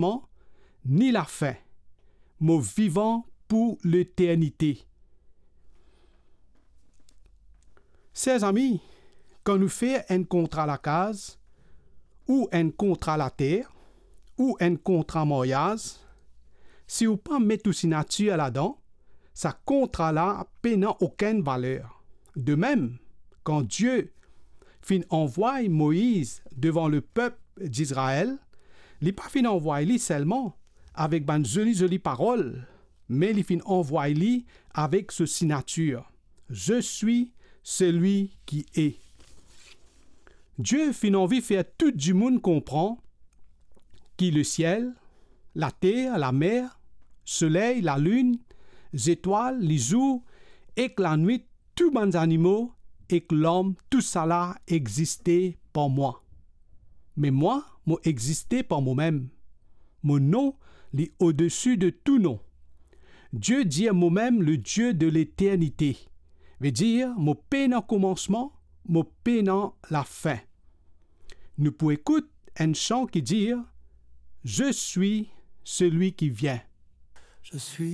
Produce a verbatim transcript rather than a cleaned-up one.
komansman, ni lafin. Mo vivan pou leternite. Ser zami, kan nou fer enn kontra lakaz, ou enn kontra later, ou enn kontra maryaz, si ou pa met ou sinatir ladan, sa kontra la pena okenn valer. De mem, kan Die finn anvway Moiz devan lepep Dizrael, li pa finn anvway li selman avek bann zoli zoli parol, me li finn anvway li avek so sinatir, "Je suis celui qui est." Die finn anvi fer tou dimoun konpran ki lesiel, later, lamer, soley, lalinn, zetwal, lizour ek lanwit, tou bann zanimo ek lom, tousala existe par mwa. Me mwa, mo existe par momem. Mo nom li odesi de tou nom. Die dir momem le Die de leternite, vedir mo pena komansman, mo pena lafin. Nou pou ekout enn san ki dir, "Je suis celui qui vient." Je suis